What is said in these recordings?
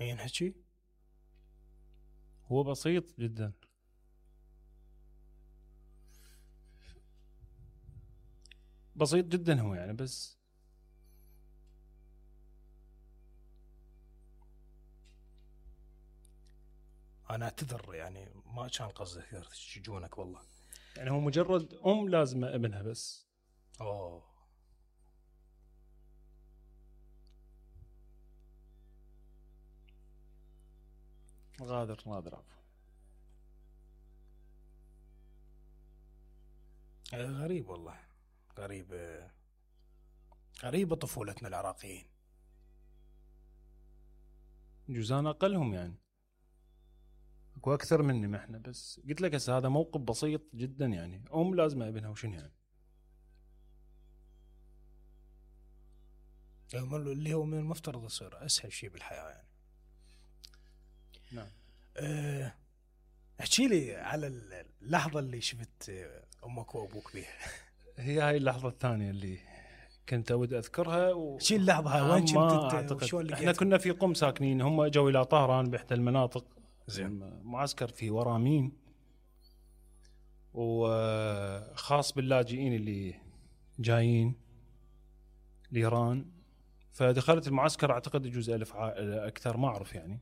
ما ينحكي. هو بسيط جدا. بسيط جدا هو يعني، بس انا اعتذر يعني ما كان قصدي يشجونك والله. يعني هو مجرد لازمه ابنها بس. اوه غادر عفوا. غريب والله، غريبة طفولتنا العراقيين. جوزان اقلهم يعني، اكو اكثر مني ما احنا، بس قلت لك هسه هذا موقف بسيط جدا يعني، لازمه ابنها وشنو يعني. اللي هو من المفترض يصير اسهل شيء بالحياة يعني. نعم. احكي لي على اللحظة اللي شفت امك وابوك بيها. هي هاي اللحظه الثانيه اللي كنت اود اذكرها. شي اللحظة هاي وين كنت انت وشلون احنا كنا في قم ساكنين، هم اجوا الى طهران باحدى المناطق. زين. معسكر في ورامين، وخاص باللاجئين اللي جايين لايران. فدخلت المعسكر اعتقد يجوز 1000 اكثر ما اعرف يعني.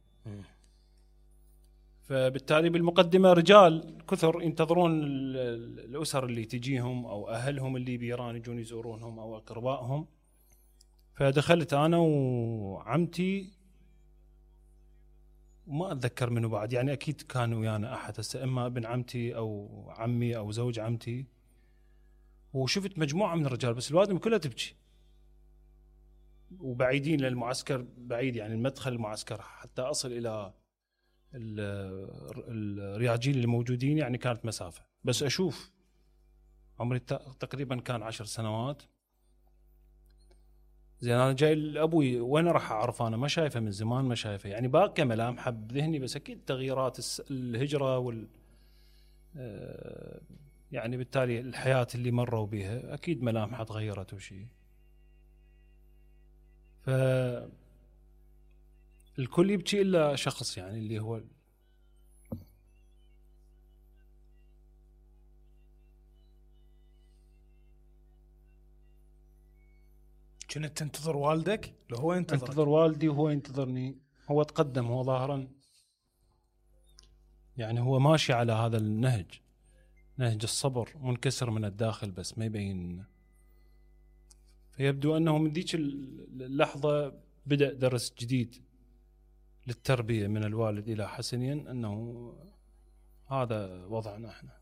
فبالتالي بالمقدمه رجال كثر ينتظرون الاسر اللي تجيهم او اهلهم اللي بايران يجون يزورونهم او اقربائهم. فدخلت انا وعمتي وما اتذكر منه بعد يعني، اكيد كان ويانا احد، هسه اما ابن عمتي او عمي او زوج عمتي. وشفت مجموعه من الرجال بس الوادم كلها تبكي، وبعيدين للمعسكر بعيد يعني المدخل المعسكر حتى اصل الى الرياجيل اللي موجودين يعني كانت مسافه. بس اشوف عمري تقريبا كان 10 سنوات. زين انا جاي لابوي وين راح اعرف، انا ما شايفه من زمان، ما شايفه يعني، باقي ملامح بذهني بس اكيد تغييرات الهجره يعني بالتالي الحياه اللي مروا بها اكيد ملامحها تغيرت وشيء. ف الكل يبكي الا شخص يعني اللي هو كنت تنتظر والدك لو هو انتظر والدي وهو ينتظرني. هو تقدم، هو ظاهرا يعني هو ماشي على هذا النهج، نهج الصبر، منكسر من الداخل بس ما يبين. فيبدو أنه من ذيك اللحظة بدأ درس جديد للتربية من الوالد إلى حسنين، أنه هذا وضعنا احنا.